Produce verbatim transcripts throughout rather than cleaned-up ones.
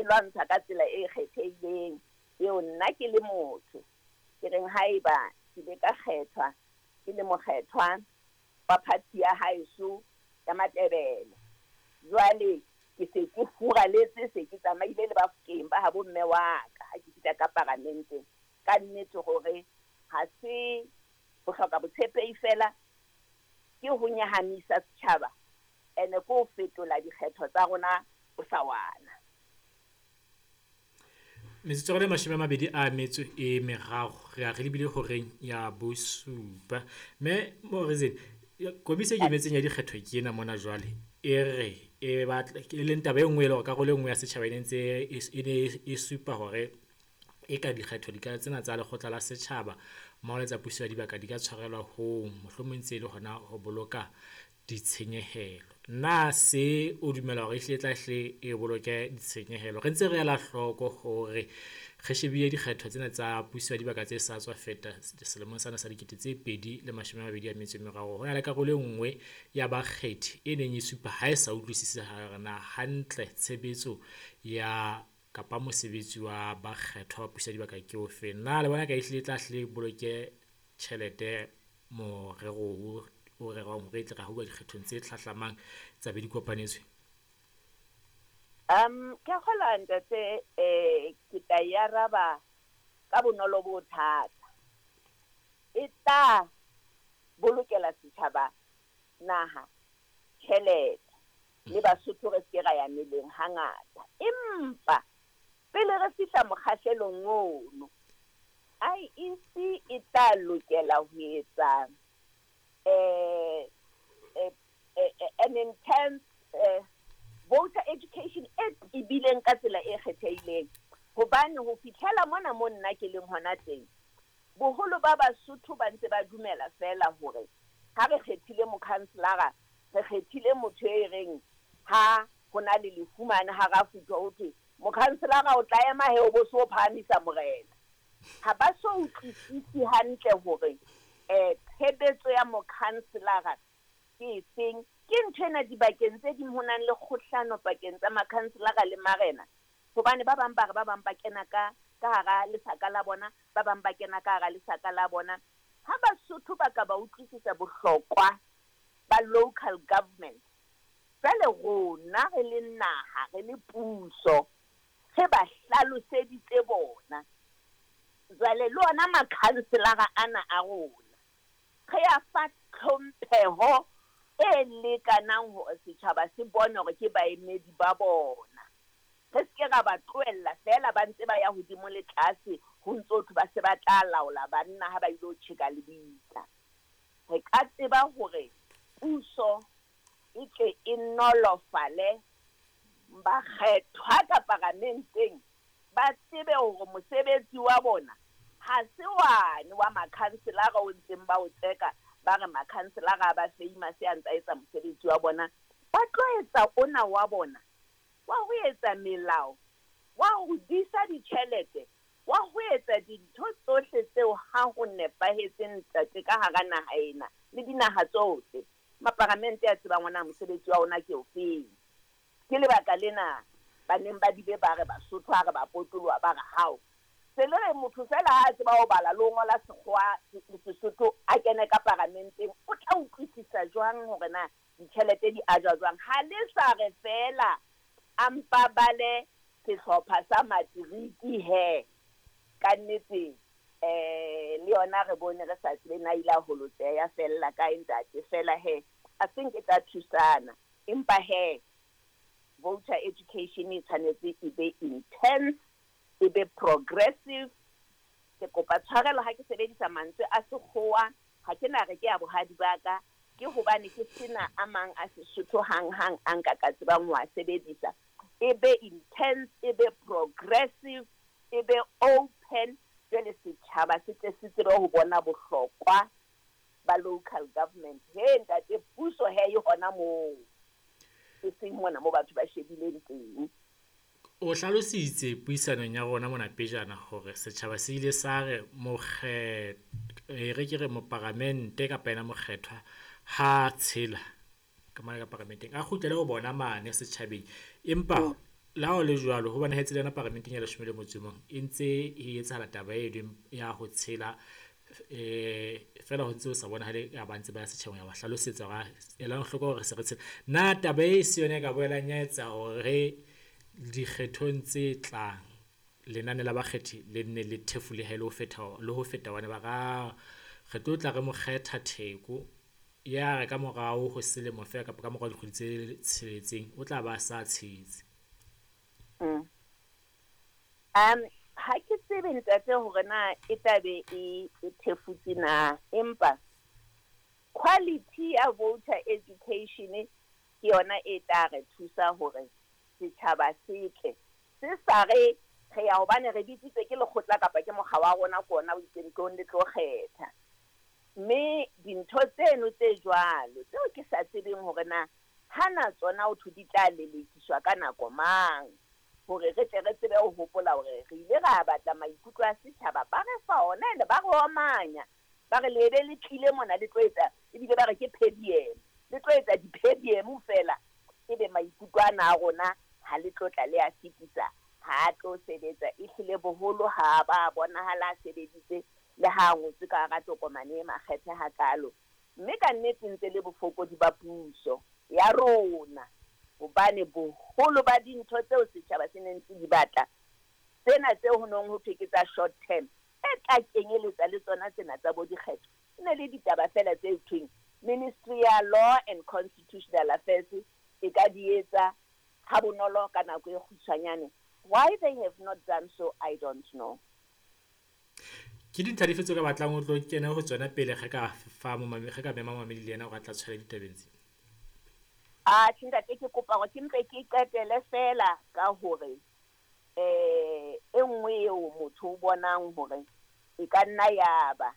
e lwantshwa ka tsela e kgethehileng eo nna ke le motho ke reng haeba ke ile ka kgethwa ke le mokgethwa wa party ya haeso ya Matebele, jwale ke se ke furaletse, se ke tsamaile le Bafokeng ba habo mme wa ka ha ke fihla ka paramenteng. Ka nnete hore ha se ho hloka botshepehi fela, ke ho nyahamisa setjhaba ene ke ho fetola dikgetho tsa rona bosawana. Metsotso e mashome a mabedi a metso e meraro re a re lebile horeng ya bosupa. Mme Morizet, komisi e ikemetseng ya dikgetho ke ena mona jwale e re e batla e leng taba e nngwe e le hore karolo e nngwe ya setjhaba e ne ntse e ne e supa hore e ka dikgetho di ka tsena tsa lekgotla la setjhaba mmoho le tsa puso ya dibaka di ka tshwarelwa hong, mohlomong ntse e le hona ho boloka ditshenyehelo. Na se o dumela hore ehlile e tla hle e boloke ditshenyehelo? Re ntse re ela hloko hore re shebile dikgetho tsena tsa puso ya dibaka tse sa tswa feta selemong sena sa dikete tse pedi le mashome a mabedi a metso e meraro. Ho na le karolo e nngwe ya bakgethi e neng e supa ha e sa utlwisise hore na hantle tshebetso ya kapa mosebetsi wa bakgethwa wa puso ya dibaka ke ofe. Na le bona ka ehlile e tla hle boloke tjhelete morero o rerwang hore e tle re ha uwa dikgethong tse hlahlamang tsa be di kopanetswe? Um, ke a kgolwa ntate, eh, ke tla e araba ka bonolo bo thata. E tla bolokela setjhaba naha tjhelete le Basotho re se ke ra ya meleng hangata. Empa pele re fihla mokgahlelong ono, I E C e tla lokela ho etsa eh, eh, eh, an intense eh, voter education e tebileng ka tsela e kgethehileng. Hobane ho fihlela mona mo nna ke leng hona teng, boholo ba Basotho ba ntse ba dumela fela hore ha re kgethile mokhanselara, re kgethile motho e reng ha ho na le lefu mane ha ra futhwa ho thwe mokhanselara o tla ema he o bo so phahamisa morena. Ha ba so utlwisise hantle hore eh tshebetso ya mokhanselara ke efeng. Ke ntho ena dibakeng tse ding ho nang le kgohlano pakeng tsa makhanselara le marena, hobane ba bang ba re ba bang ba kena ka ka hara lesaka la bona, ba bang ba kena ka hara lesaka la bona. Ha Basotho ba ka ba utlwisisa bohlokwa ba local government, jwale rona re le naha, re le puso, re ba hlaloseditse bona. Jwale le ona makhanselara ana a rona re a fa tlhompheho e lekanang hore setjhaba se bone hore ke baemedi ba bona. Re se ke ra ba tlohella fela ba ntse ba ya hodimo le tlase, ho ntso thwe ba se ba tla laola banna ha ba ilo tjheka lebitla. Re ka tseba hore puso e tle e nolofale bakgethwa ka paramenteng, ba tsebe hore mosebetsi wa bona ha se wane wa makhanselara o ntseng ba o tseka, ba re makhanselara a ba famous a ntse a etsa mosebetsi wa bona. Ba tlo etsa ona wa bona wa ho etsa melao, wa ho disa ditjhelete, wa ho etsa dintho tsohle tseo ha ho nepahetseng ntate ka hara naha ena le dinaha tsohle. Maparamente a tsebang ona mosebetsi wa ona ke ofeng. Ke lebaka lena ba neng ba bile ba re Basotho ha re ba potoloha ba re hao se le re motho fela ha a tseba ho bala le ho ngola sekgowa le Sesotho a kene ka paramenteng, o tla utlwisisa jwang hore na ditjhelete di ajwa jwang? Ha le sa re fela a mpa bale sehlopha sa matriki he. Ka nnete eh le yona re bone re sa tsebe na ile a holotseha ya fella kae ntate. Fela he I think e tla thusana, empa he voter education e tshwanetse e be intense, e be progressive. Ke kopa tshwarelo ha ke sebedisa mantswe a sekgowa, ha ke na re ke a bohadi ba ka, ke hobane ke sena a mang a Sesotho hang-hang a nka ka tsebang ho a sebedisa. E be intense, e be progressive, e be open, jwale setjhaba se tle se tsebe ho bona bohlokwa ba local government. He ntate, puso he e hona moo, e seng mona mo batho ba shebileng teng. O hlalositse puisanong ya rona mona pejana hore setjhaba se ile sa re mokge, e re ke re moparamente kapa yena mokgethwa ha tshela ka mane ka paramenteng a kgutlele ho bona mane setjhabeng, empa La ho le jwalo, ho bonahetse le yona paramenteng ya leshome le motso e mong e ntse e etsahala taba e leng ya ho tshela, eh fela ho ntse ho sa bonahale ya ba ntse ba ya setjhabeng ya ba hlalosetsa hore elang hloko hore se re tshela. Na taba e se yona e ka boelang ya etsa hore dikgethong tse tlang lenane la bakgethi le nne le thefulehe le ho feta le ho feta hobane ba ra re tlo tla re mo kgetha Theko ya re ka morao ho selemo feela kapa ka morao dikgwedi tse tsheletseng o tla ba sa tshetse. Mm. Um ha ke tsebe ntate hore na e tla be e e thefutse na, empa quality ya voter education ke yona e tla re thusa hore setjhaba se tle se sa re re ya hobane re bitsitswe ke lekgotla kapa ke mokga wa rona ke ona o itseng tlong le tlo kgetha. Mme dintho tseno tse jwalo tseo ke sa tsebeng hore na hana tsona ho thwe di tla lelekiswa ka nako mang, hore re tle re tsebe ho hopola hore re ile ra batla maikutlo a setjhaba, ba re fa ona ene ba re omanya, ba re lebe le tlile mona le tlo etsa, ebile ba re ke per diem, le tlo etsa di-per diem fela, ebe maikutlo ana a rona ha le tlo tla le a fetisa, ha a tlo sebetsa. Ehlile boholo ha ba bonahala a sebeditse le ha a ngotswe ka hara tokomane e makgethe hakalo. Mme ka nnete ntse le bofokodi ba puso ya rona, hobane boholo ba dintho tseo setjhaba se neng se di batla, tsena tseo ho nong ho thwe ke tsa short term, e tla kenyeletsa le tsona tsena tsa bo dikgetho, e ne le ditaba fela tse thweng Ministry ya Law and Constitutional Affairs e ka di etsa ha bonolo ka nako e kgutshwanyane. Why they have not done so, I don't know. Ke dintlha dife tseo ka batlang o tlo kena ho tsona pele re ka fa momamedi, re ka mema momamedi le yena hore a tla tshwara ditabeng tse? Ah, tjhe ntate, ke kopa hore ke mpe ke qetele fela ka hore eh e nngwe eo motho o bonang hore e ka nna ya ba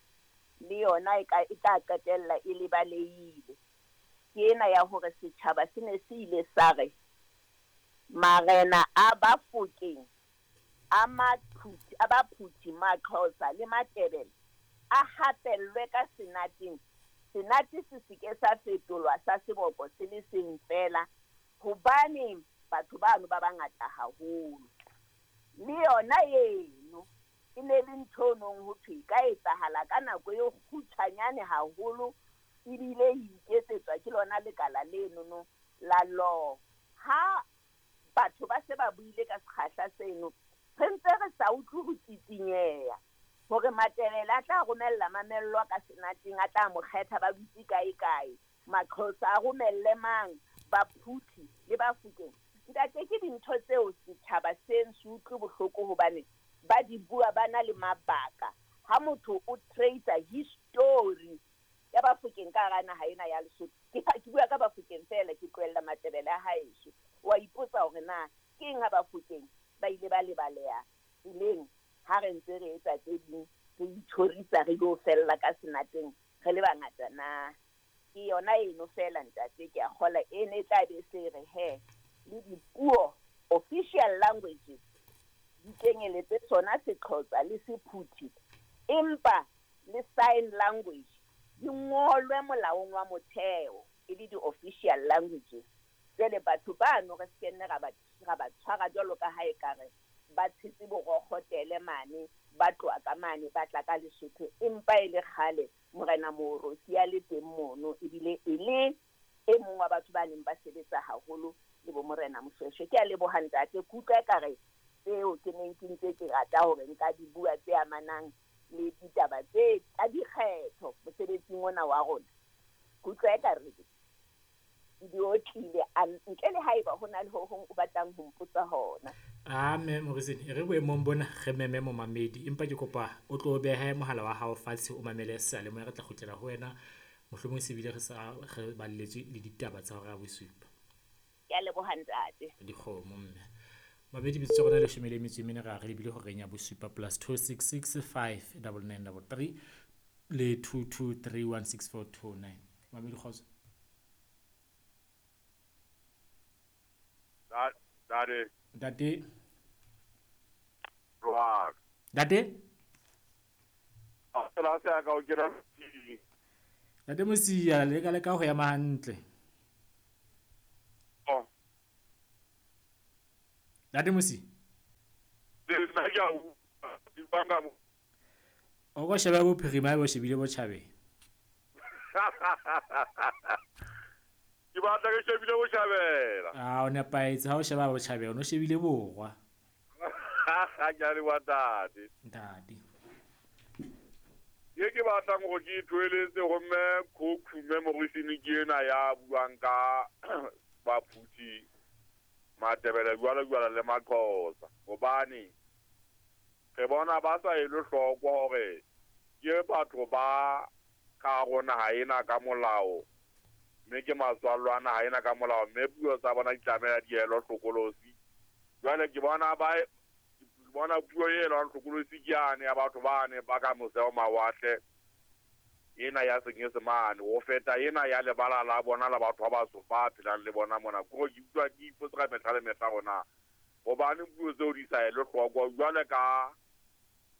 le yona e ka e tla qetella e lebalehile, ke ena ya hore setjhaba se ne se ile sa re marena a Bafokeng, a Maphuthi, a Baphuthi, Maxhosa le Matebele a hapellwe ka senateng. Senate se seke sa fetolwa sa seboko se le seng fela, hobane batho bano ba bangata haholo. Le yona eno e ne le ntho e nong ho thwe e ka etsahala ka nako e kgutshwanyane haholo, ebile e iketsetswa ke lona lekala lenono la law. Ha batho ba se ba buile ka sekgahla seno, re ntse re sa utlwe ho tsitsinyeha hore Matebele a tla romella mamello ka senateng, a tla mo kgetha ba dutse kae kae, Maxhosa a romelle mang, Baphuthi le Bafokeng. Ntate, ke dintho tseo setjhaba se se utlwe bohloko hobane ba di bua ba na le mabaka. Ha motho o tracer history ya Bafokeng ka hara naha ena ya Lesotho, ke ke bua ka Bafokeng fela, ke tlohella Matebele a haeso, wa ipotsa hore na ke eng ha Bafokeng ba ile ba lebaleha tseleng ha re ntse re etsa tse ding, re itjhorisa re lo fella ka senateng re le bangata na? Ke yona eno fela ntate, ke a kgola e ne e tla be se re he le dipuo official languages di kenyeletse sona Sexhosa le Sephuthi, empa le sign language di ngolwe molaong wa motheo e le di-official languages. Jwale batho bano re se nne ra ba ra ba tshwara jwalo ka ha ekare ba tshetse borokgotele mane, ba tloha ka mane, ba tla ka Lesotho, empa e le kgale Morena Moorosi a le teng mono, ebile e le e mong wa batho ba neng ba sebetsa haholo le bo Morena Moshoeshoe. Ke a leboha ntate, ke utlwa ekare tseo ke neng ke ntse ke rata hore nka di bua tse amanang le ditaba tse tsa dikgetho mosebetsing ona wa rona. Ke utlwa ekare di otlile, ntle le haeba ho na le ho hong o batlang ho mpotsa hona. Ah, mme Morizini, e re boemong bona re meme momamedi, empa ke kopa o tlo behe mohala wa hao fatshe o mamele seyalemoya, re tla kgutlela ho wena mohlomong se bile re sa re balletswe le ditaba tsa hora ya bosupa. Ke a leboha ntate. Dikgomo mme. Mabedi bitso rona leshome le metso e mene, ra re lebile horeng ya bosupa plus two six six five double nine double three le two two three one six four two nine. Mabedi kgotso. Ntate. Ntate. Jwang? Ntate? A tsela se ka o kena. Ntate Mosia, le ka leka ho ema hantle. Oh. Ntate Mosi. Nna ke a utlwa mo. O ka sheba bophirima bo shebile botjhabela. Ke batla ke shebile botjhabela. Ah, o nepahetse ha o sheba botjhabela, o no shebile borwa. Ke a leboha ntate. Ntate. Ye ke batlang hore ke ithoeletse ho mme Khokhume Morisini ke ena ya buang ka Baphuthi Matebele jwalo jwalo le Maxhosa. Hobane re bona ba sa elwe hloko hore ke batho ba ka hare ho naha ena ka molao, mme ke matswallo a naha ena ka molao, mme puo tsa bona di tlameha di elwe hlokolosi. Jwale ke bona ba bona puo e elwang hlokolosi ke yane ya batho bane ba ka mose ho mawatle, ena ya Senyesemane, ho feta ena ya lebala la bona la batho ba batsho ba phelang le bona mona. Kore ke utlwa ke ipotsa ka mehla le mehla hore na hobane puo tseo di sa elwe hloko. Jwale ka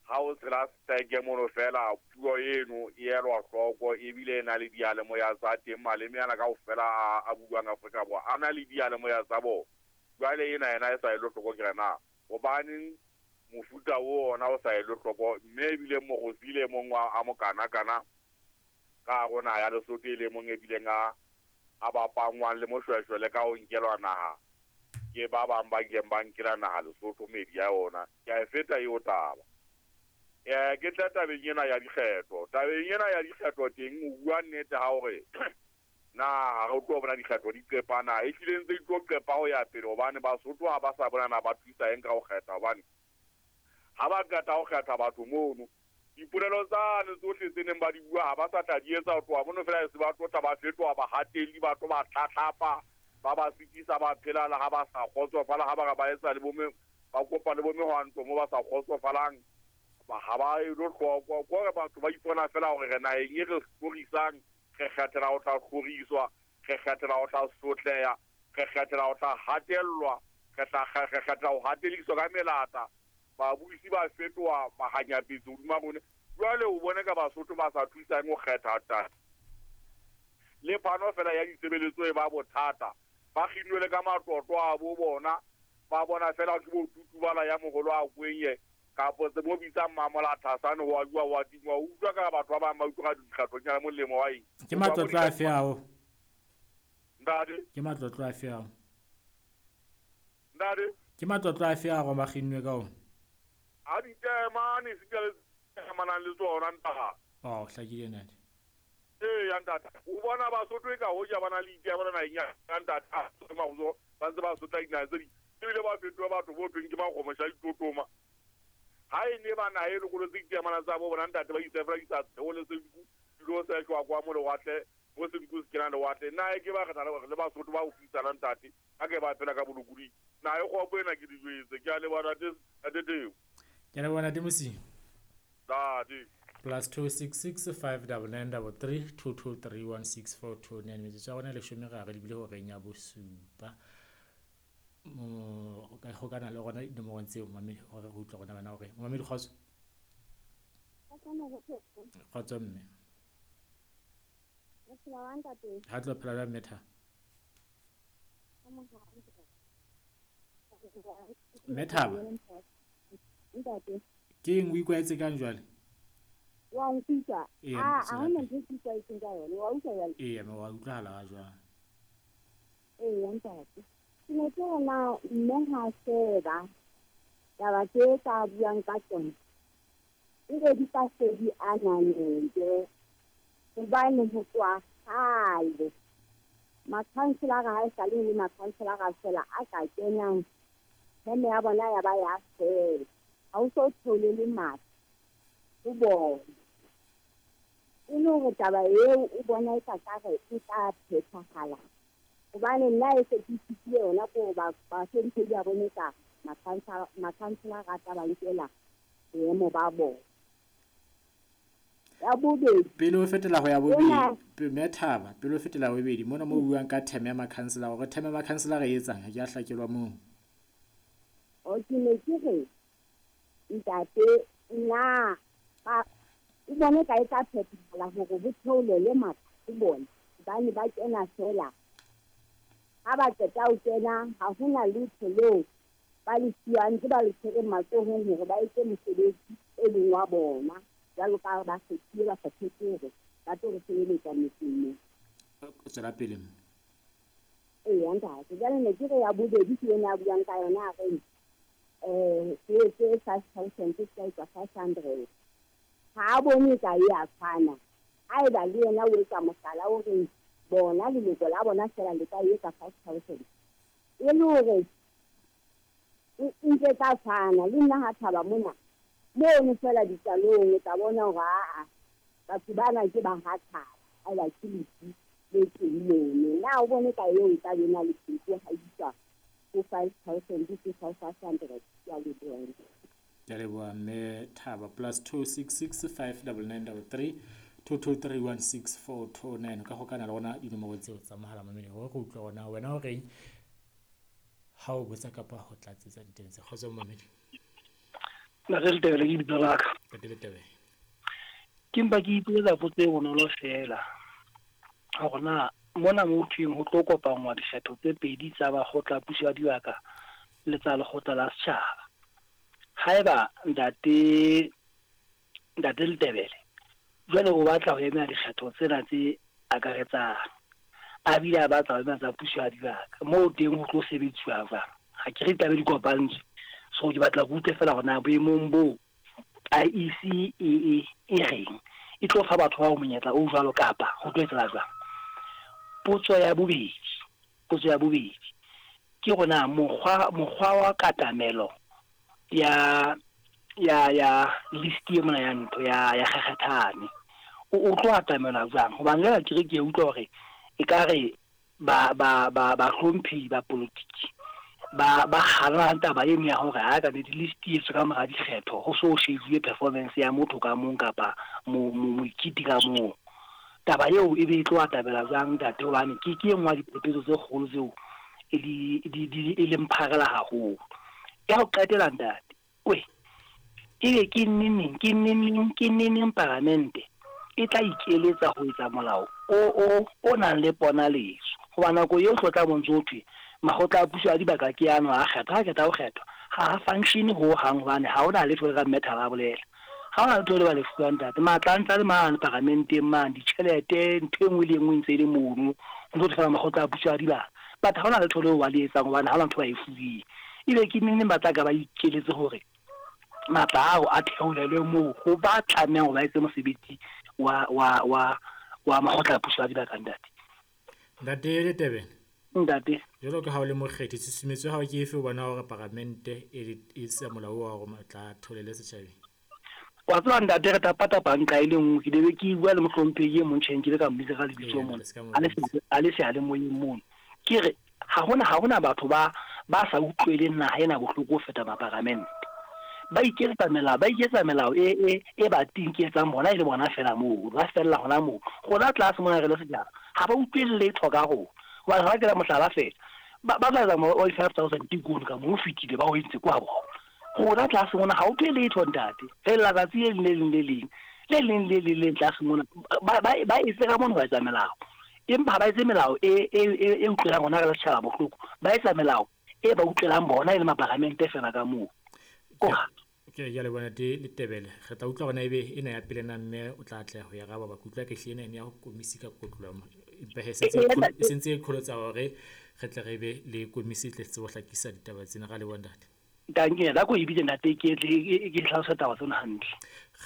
ha o tshela steke mono fela, puo eno e elwa hloko ebile e na le diyalemoya tsa teng. Maleme ana kaofela a, a buang Afrika Borwa a na le diyalemoya tsa bona. Jwale ena yena e sa elwe hloko, ke re na hobaneng mofuta o ona o sa elwe hloko, mme ebile mogosi le mong wa a mokana-kana ka hare ho naha ya Lesotho e le mong ebileng a a bapangwang le Moshweshwe le ka ho nkelwa naha ke ba bang ba kileng ba nkela naha Lesotho meedi ya yona. Ke a e feta eo taba. Eh, ke tla tabeng ena ya dikgetho. Tabeng ena ya dikgetho teng o bua nnete ha hore na ha re tlo bona dikgetho di qepa na, ehlile ntse di tlo qepa ho ya pele, hobane Basotho ha ba sa bona na ba thusa eng ka ho kgetha, hobane ha ba qeta ho kgetha batho mono, dipolelo tsane tsohle tse neng ba di bua ha ba sa tla di etsa ho tloha mono fela, e se ba tlo tla ba fetoha bahatelli, ba tlo ba tlatlapa, ba ba sitisa ba phela le ha ba sa kgotsofala, ha ba re ba etsa le bo me, ba kopa le bo mehwanto mo ba sa kgotsofalang, ba ha ba elo hloko. Kore batho ba ipona fela hore re naheng e re hlorisang, re kgethela ho tla hloriswa, re kgethela ho tla sotleha, re kgethela ho tla hatellwa, re tla re kgethela ho hatelliswa ka melata. Babusi ba fetoha mahanyapetsi hodima rona. Jwale o bone ka Basotho ba sa thusang ho kgetha tata. Le phano fela ya ditshebeletso e ba bothata. Ba kginwe le ka matlotlo a bo bona, ba bona fela ke bo tutubala ya moholo a kwenye kapo tse mo bitsang Mamola Thasane ho a bua wa tingwa. O utlwa ka batho ba bang ba utlwa ka dikgatho nyana molemo wa eng. Ke matlotlo afe ao? Ntate. Ke matlotlo afe ao? Ntate. Ke matlotlo afe ao ba kginnwe ka ona? A ditemane se le amanang le tsona ntate. Oh, hlakile ntate. Ee, ya ntate. O bona Basotho e ka hoja ba na le ditemane naheng ya ntate. A mahuzo ba ntse ba sotla dinaha tse ding. Ebile ba fetoha batho bo tweng ke makgomosha ditotoma. Ha e ne ba naha e lokolotse ditemana tsa bo bona ntate, ba itse fela di sa theole senku, di lo seshwa kwa mo lewatle, mo senku se kenang lewatle. Naha e ke ba re na le Basotho ba ho fitsana ntate, ha ke ba phela ka bolokolohi. Naha e kgopo ena ke di jwetse. Ke a leboha ntate, ntate Teo. Ke a leboha ntate Mosi. Ntate. Plus two six six five double nine double three two two three one six four two nine. Metsotso ya rona leshome re lebile horeng ya bosupa. Mo ka hokana le rona dinomorong tseo mamedi hore re utlwe rona bana hore mamedi kgotso. Kgotso mme. Ha tlo phela jwang mme Thabo? Mme Thabo. Ke eng o ikwahetse kang jwale? Wa nkutlwa? Ee, Ah, tswela ha hona pele. ntho e ke ikwahetseng ka yona. Wa utlwa jwale? Ee, mme wa utlwahala ha jwang? Ee, ntate. Ke ne ke re na mme ha sheba taba tse ka buang ka tsona, ebe di ka se di ananele, hobane ho tloha kgale makhanselara ha e sale le makhanselara feela a ka kenang, heme ya bona ya ba ya fela. Ha o so thole le matla ho bona. E le hore taba eo o bona e ka kare e tla phethahala, hobane nna e se ke ithutile yona ko ba bahlomphehi ba bone ka makhanselara a tla ba nkela boemo ba bona. Ya bobedi, Pele o fetela ho ya bobedi, ena mme Thaba, pele o fetela ho bobedi, mona mo buang ka term ya makhanselara, hore term ya makhanselara e etsang, ha ke a hlakelwa moo. O ke ne ke re ntate nna ba o bone ka e tla phethahala hore ho theolele matla ho bona, hobane ba kena fela. Ha ba qeta ho kena, ha hona letho leo ba le fuwang ke ba le tshwereng matsohong hore ba etse mosebetsi e leng wa bona jwalo ka ba kgethile ba kgethetse hore ba tlo re sebeletsa metseng moo. Tswela pele. Eya ntate, jwale ne ke re ya bobedi ke ena a buang ka yona a reng um se etse five thousand se ka etsa five hundred. Ha a bone ka e a tshwana. Haeba le yena o etsa mohlala o reng bona leloko la bona feela le ka etsa five thousand. E le hore e ntse tla tshwana le nna ha thaba mona mono feela ditalong o tla bona hore aa batho bana ke ba ha thaba haeba ke lefu le teng mono. Na o bone ka eo e tla be na le pheko ha iswa ho five thousand ke five hundred. Ke a leboha. Ke a leboha mme Thaba. Plus two six six five double nine double three two two three one six four two nine. Ka hokana le rona dinomoro tseo tsa mohala mamedi hore re utlwe hore na wena o reng ha o botsa kapa ho tlatsetsa diteng tse. Kgotso mamedi. Ntate Letebele ke lebitso la ka. Ntate Letebele. Ke mpa ke ipoletsa potso e bonolo feela. Hore na mona mo thweng ho tlo kopanngwa dikgetho tse pedi tsa bakgotla puso ya dibaka le tsa lekgotla la setjhaba. Haeba ntate ntate Letebele jwale o batla ho emela dikgetho tsena tse akaretsang, a bile a batla ho emela tsa puso ya dibaka, moo teng ho tlo sebetsuwa jwang? Ha ke re ditaba di kopantswe. So ke batla go utlwe fela hore na boemong bo I E C e e e reng e tlo fa batho bao monyetla o jwalo kapa ho tlo etsahala jwang? Potso ya bobedi, potso ya bobedi ke hore na mokgwa mokgwa wa katamelo ya ya ya list e mona ya ntho ya ya kgekgethane o o tlo atamela jwang? Hobane jwale ke re ke utlwa hore ekare ba ba ba ba hlomphi ba politiki ba ba kgala taba eno ya hore ha ka di list e tswa ka mora dikgetho ho so shejuwe performance ya motho ka mong kapa moikiti ka mong. Taba eo e be e tlo atamela jwang ntate? Hobane ke ke e nngwe ya diphephetso tse kgolo tseo e di di di e leng pharela haholo. Ya ho qetela ntate, we ebe ke neneng ke neneng ke neneng paramente e tla ikeletsa ho etsa molao o o o nang le ponaletso? Hoba nako eo tlo tla bontse ho thwe makgotla a puso ya dibaka ke ano a kgetha, ha kgetha ho kgethwa ha a function ho hang, hobane ha hona letho le ka mme Thaba a bolela. Ha hona letho le ba le fuwang ntate. Matla a ntse a le mane paramenteng mane, ditjhelete ntho e nngwe le e nngwe e ntse e le mono. Ho ntso thwe makgotla a puso ya dibaka, but ha hona letho leo ba le etsang hobane ha hona ntho ba e fuweng. Ebe ke neneng ba tla ka ba ikeletse hore matla ao a theolelwe moo ho ba tlamehang hore ba etse mosebetsi wa wa wa wa makgotla a puso ya dibaka ntate? Ntate Letebele. Ntate. Jwalo ka ha o le mokgethi, tshusumetso ya hao ke efe o bona hore paramente e e se molao wa hore matla a theolele setjhabeng? Wa tseba ntate, re tapa-tapa nqa e le nngwe. Ke be ke bua le mohlomphehi e mong tjheng, ke le ka mmitsa ka lebitso mona. A le seyalemoyeng mono. Ke re ha hona ha hona batho ba ba sa utlweleng naha ena bohloko ho feta maparamente. Ba iketsetsa melao, ba iketsetsa melao e e e ba tinketsang bona e le bona fela moo, ba fella hona moo. Rona tlase mona re le setjhaba, ha ba utlwele letho ka rona. Hobane ha ke la mohlala fela, ba ba tla etsa mo five thousand tikolo ka moo fetile ba o entse kwa bona. Rona tlase mona ha utlwe letho ntate. Re letsatsi le leng le leng le leng le leng le leng tlase mona ba ba ba etse ka mona ba etsa melao. Empa ha ba etse melao e e e utlwelang rona re le setjhaba bohloko. Ba etsa melao e ba utlwelang bona e le maparamente fela ka moo. Ke ya le bona te Letebele. Re tla utlwa hore na ebe ena ya pele na mme o tla atleha ho ya araba ba kutlwa ke hlile ena ya ho komisi ka kotlolo. Empa he sentse e sentse e kholotsa hore re tle re be le komisi e tle tsebo hlakisa ditaba tsena. Ra leboha ntate. Danke, la ko e bitse ntate ke tle ke hlalosa taba tsena hantle.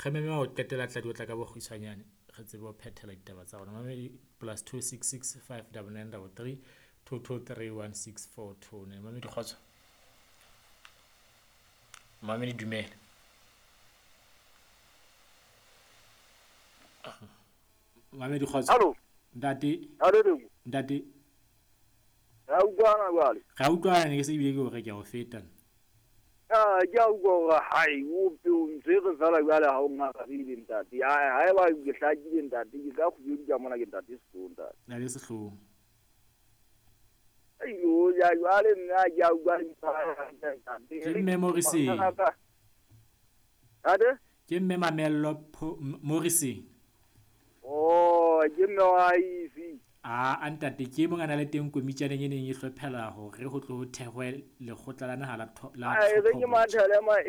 Re meme ho qetela tla di otla ka bokgutshwanyane re tsebe ho phethela ditaba tsa rona. Mamedi plus two six six five double nine double three two two three one six four two nine. Mamedi kgotso. Mamedi dumela. Mamedi kgotso. Hallo. Ntate. Hallo. Ntate. Ra utlwana jwale. Ra utlwana ne ke se ebile ke hore ke a o feta. Ah, ke a utlwa hore hai o o ntshwere fela jwale ha o ngarabile ntate. Hai haeba ke hlakile ntate, ke ka kgubeditsa mona ke ntate Sehlong ntate. Ntate Sehlong. Ayo ya jwale nna ke a utlwa ntate. Ke mme Morrissey. Ade? Ke mme Mamello Morrissey. Oh, ke mme wa I E C. A a ntate ke mong a na le teng komitjaneng e neng e hlophela hore ho tlo ho thehwe lekgotla la naha la tho- la A e re ke tlhopho botjha. mathele ma